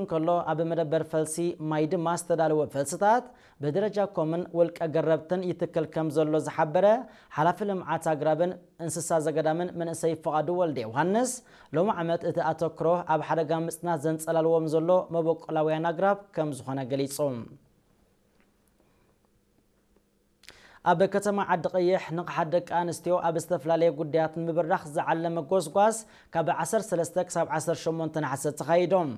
እንከሎ፣ ኣብ መደበር ፈልሲ ማይ ድማ ዝተዳለወ ፈልስታት ብደረጃ ኮምን ውልቀ ገረብትን ይትከል ከም ዘሎ ዝሓበረ ሓላፊ ልምዓት ኣግራብን እንስሳ ዘገዳምን መንእሰይ ፍቓዱ ወልደ ዮሃንስ፣ ሎሚ ዓመት እቲ ኣተክሮ ኣብ ሓደጋ ምጽናት ዘንጸላልዎም ዘሎ መበቆላውያን ኣግራብ ከም ዝኾነ ገሊጹ። ኣብ ከተማ ዓዲ ቀይሕ ንቕሓት ደቂ ኣንስትዮ ኣብ ዝተፈላለየ ጉዳያት ንምብራኽ ዝዓለመ ጎስጓስ ካብ ዓሰርተ ሰለስተ ክሳብ ዓሰርተ ሸሞንተ ነሓሰ ተኻይዶም።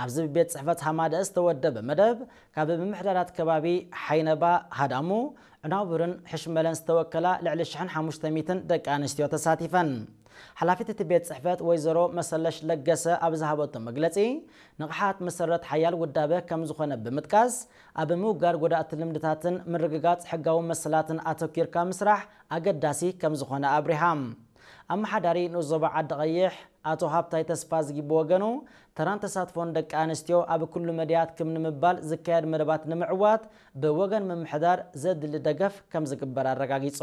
ኣብዚ ብቤት ጽሕፈት ሃማደእ ዝተወደበ መደብ ካብ ምምሕዳራት ከባቢ ሓይነባ፣ ሃዳሙ፣ ዕናውብርን ሕሽመለን ዝተወከላ ልዕሊ ሽሕን ሓሙሽተ ሚእትን ደቂ ኣንስትዮ ተሳቲፈን። ሓላፊት እቲ ቤት ጽሕፈት ወይዘሮ መሰለሽ ለገሰ ኣብ ዝሃበቶ መግለጺ፣ ንቕሓት መሰረት ሓያል ውዳበ ከም ዝኾነ ብምጥቃስ፣ ኣብ ምውጋድ ጎዳእቲ ልምድታትን ምርግጋጽ ሕጋዊ መሰላትን ኣተኪርካ ምስራሕ ኣገዳሲ ከም ዝኾነ ኣብሪሃ። ኣመሓዳሪ ንኡስ ዞባ ዓዲ ቀይሕ ኣቶ ሃብታይ ተስፋዝጊ ብወገኑ፣ ተራን ተሳትፎን ደቂ ኣንስትዮ ኣብ ኩሉ መድያት ክም ንምባል ዝካየድ መደባት ንምዕዋት ብወገን ምምሕዳር ዘድሊ ደገፍ ከም ዝግበር ኣረጋጊጹ።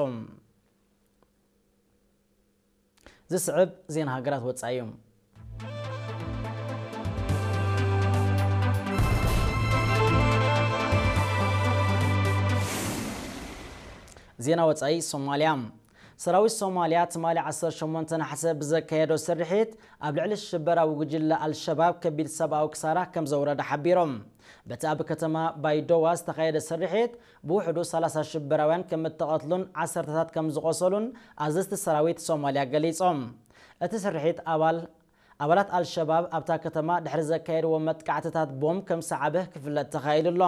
ዝስዕብ ዜና ሃገራት ወጻኢ እዩ። ዜና ወጻኢ ሶማልያ። ሰራዊት ሶማልያ ትማሊ ዓሰርተ ሸሞንተ ነሓሰ ብዘካየዶ ስርሒት ኣብ ልዕሊ ሽበራዊ ጉጅለ ኣልሸባብ ከቢድ ሰብኣዊ ክሳራ ከም ዘውረደ ሓቢሮም። በቲ ኣብ ከተማ ባይዶዋ ዝተኻየደ ስርሒት ብውሕዱ ሰላሳ ሽበራውያን ከም እተቐትሉን ዓሰርተታት ከም ዝቖሰሉን ኣዘዝቲ ሰራዊት ሶማልያ ገሊጾም። እቲ ስርሒት ኣባል ኣባላት ኣልሸባብ ኣብታ ከተማ ድሕሪ ዘካየድዎ መጥቃዕትታት ቦምብ ከም ሰዓበ ክፍለጥ ተኻኢሉ ኣሎ።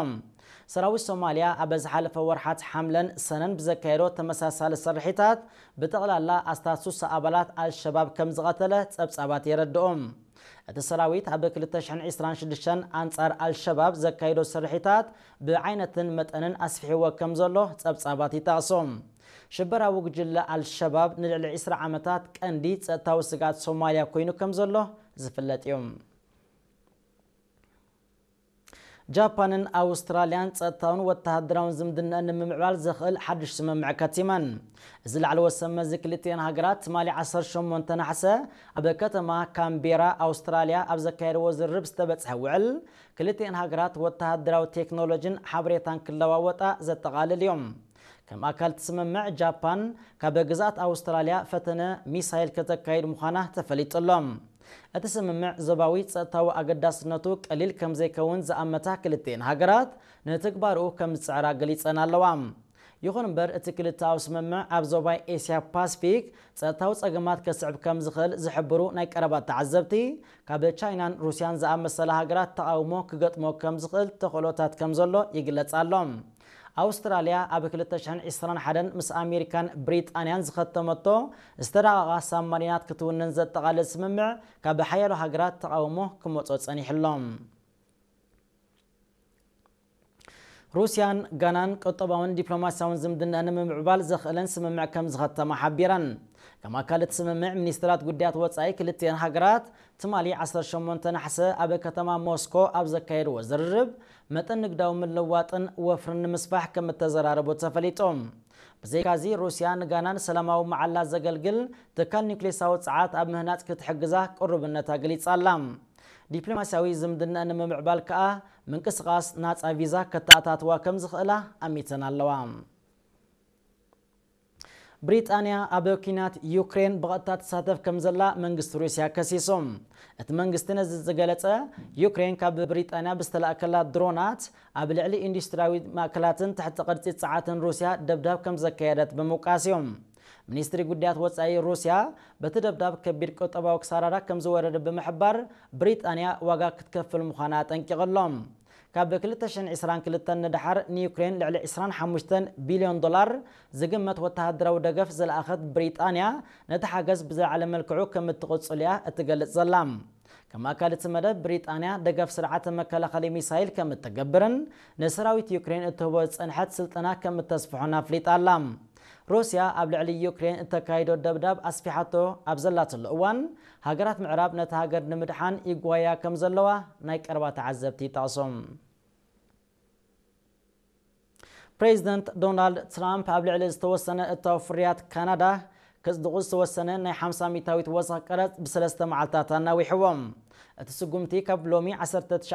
ሰራዊት ሶማልያ ኣብ ዝሓለፈ ወርሓት ሓምለን ሰነን ብዘካየዶ ተመሳሳሊ ስርሒታት ብጠቕላላ ኣስታት ሱሳ ኣባላት ኣልሸባብ ከም ዝቐተለ ጸብጻባት የረድኡ። እቲ ሰራዊት ኣብ ክልተ ሽሕን ዕስራን ሽዱሽተን ኣንጻር ኣልሸባብ ዘካየዶ ስርሒታት ብዓይነትን መጠንን ኣስፊሕዎ ከም ዘሎ ጸብጻባት ይጠቕሱ። ሽበራዊ ጉጅለ ኣልሸባብ ንልዕሊ ዕስራ ዓመታት ቀንዲ ጸጥታዊ ስግኣት ሶማልያ ኮይኑ ከም ዘሎ ዝፍለጥ እዩ። ጃፓንን ኣውስትራልያን ጸጥታውን ወተሃደራውን ዝምድናኣን ንምምዕባል ዘኽእል ሓድሽ ስምምዕ ከቲመን። እዚ ላዕለዎት ሰብ መዚ ክልቲኤን ሃገራት ትማሊ ዓሰርተ ሸሞንተ ነሓሰ ኣብ ከተማ ካምቤራ ኣውስትራልያ ኣብ ዘካየድዎ ዝርርብ ዝተበጽሐ ውዕል፣ ክልቲኤን ሃገራት ወተሃደራዊ ቴክኖሎጂን ሓበሬታን ክለዋወጣ ዘጠቓልል እዮም። ከም ኣካል እቲ ስምምዕ፣ ጃፓን ካብ ግዝኣት ኣውስትራልያ ፈተነ ሚሳይል ከተካይድ ምዃና ተፈሊጡ ኣሎ። እቲ ስምምዕ ዞባዊ ጸጥታዊ ኣገዳስነቱ ቀሊል ከም ዘይከውን ዝኣመታ ክልቲኤን ሃገራት፣ ንትግባርኡ ከም ዝጽዕራ ገሊጸን ኣለዋ። ይኹን እምበር፣ እቲ ክልተኣዊ ስምምዕ ኣብ ዞባ ኤስያ ፓስፊክ ጸጥታዊ ጸገማት ከስዕብ ከም ዝኽእል ዝሕብሩ ናይ ቀረባ ተዓዘብቲ፣ ካብ ቻይናን ሩስያን ዝኣመሰላ ሃገራት ተቓውሞ ክገጥሞ ከም ዝኽእል ተኽእሎታት ከም ዘሎ ይግለጽ ኣሎ። ኣውስትራልያ ኣብ ክልተ ሽሕን ዕስራን ሓደን ምስ ኣሜሪካን ብሪጣንያን ዝኸተመቶ ዝተራቐቓ ሳብማሪናት ክትውንን ዘጠቓልል ስምምዕ ካብ ሓያሎ ሃገራት ተቓውሞ ክመጾ ጸኒሑ ኣሎ። ሩስያን ጋናን ቁጠባውን ዲፕሎማስያውን ዝምድና ንምምዕባል ዘኽእለን ስምምዕ ከም ዝኸተማ ሓቢረን። ከም ኣካል እቲ ስምምዕ፣ ሚኒስትራት ጉዳያት ወጻኢ ክልቲኤን ሃገራት ትማሊ ዓሰርተ ሸሞንተ ነሓሰ ኣብ ከተማ ሞስኮ ኣብ ዘካየድዎ ዝርርብ፣ መጠን ንግዳዊ ምልውዋጥን ወፍርን ንምስፋሕ ከም እተዘራረቡ ተፈሊጡ። ብዘይካዚ፣ ሩስያ ንጋና ንሰላማዊ መዓላ ዘገልግል ትካል ኒውክሌሳዊ ጸዓት ኣብ ምህናጽ ክትሕግዛ ቅሩብነታ ገሊጻ ኣላ። ዲፕሎማስያዊ ዝምድና ንምምዕባል ከኣ ምንቅስቓስ ናጻ ቪዛ ከተኣታትዋ ከም ዝኽእላ ኣሚተን ኣለዋ። ብሪጣንያ ኣብ ኲናት ዩክሬን ብቐጥታ ትሳተፍ ከም ዘላ መንግስቲ ሩስያ ከሲሱ። እቲ መንግስቲ ነዚ ዝገለጸ፣ ዩክሬን ካብ ብሪጣንያ ብዝተላእከላ ድሮናት ኣብ ልዕሊ ኢንዱስትሪያዊ ማእከላትን ትሕቲ ቅርጺ ጸዓትን ሩስያ ደብዳብ ከም ዘካየደት ብምውቃስ እዩ። ሚኒስትሪ ጉዳያት ወጻኢ ሩስያ፣ በቲ ደብዳብ ከቢድ ቁጠባዊ ክሳራራ ከም ዝወረደ ብምሕባር፣ ብሪጣንያ ዋጋ ክትከፍል ምዃና ኣጠንቂቑ ኣሎ። ካብ ክልተ ሽሕን ዕስራን ክልተን ንደሓር ንዩክሬን ልዕሊ ዕስራን ሓሙሽተን ቢልዮን ዶላር ዝግመት ወተሃደራዊ ደገፍ ዝለኣኸት ብሪጣንያ፣ ነቲ ሓገዝ ብዝለዓለ መልክዑ ከም እትቕጽል እያ እትገልጽ ዘላ። ከም ኣካል እቲ መደብ፣ ብሪጣንያ ደገፍ ስርዓተ መከላኸሊ ሚሳይል ከም እትገብርን ንሰራዊት ዩክሬን እትህቦ ዝጸንሐት ስልጠና ከም እተስፍሖን ኣፍሊጣ ኣላ። ሩስያ ኣብ ልዕሊ ዩክሬን እተካይዶ ደብዳብ ኣስፊሓቶ ኣብ ዘላትሉ እዋን፣ ሃገራት ምዕራብ ነታ ሃገር ንምድሓን ይጓያ ከም ዘለዋ ናይ ቀረባ ተዓዘብቲ ይጠቕሱ። ፕሬዚደንት ዶናልድ ትራምፕ ኣብ ልዕሊ ዝተወሰነ እታዊ ፍርያት ካናዳ ከጽድቑ ዝተወሰነ ናይ ሓምሳ ሚእታዊት ወሰኽ ቀረጽ ብሰለስተ መዓልታት ኣናዊሕዎ። እቲ ስጉምቲ ካብ ሎሚ ዓሰርተ ትሽዓተ